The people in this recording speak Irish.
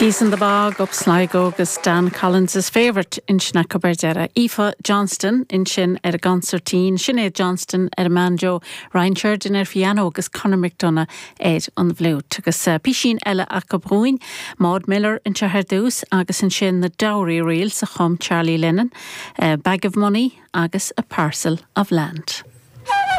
Geese in the Bog up Sligo agus Dan Collins's Favourite ansin acu ar deireadh. Aoife Johnston ansin ar an gconsairtín, Sinéad Johnston ar an mbanjo, Ryan Sheridan ar phiano agus Conor McDonagh ar an bhfliúit. Agus písín eile acu dhúinn, Maud Miller anseo ar dtús agus ansin na Dowry Reels a chum Charlie Lennon, Bag of Money agus A Parcel of Land.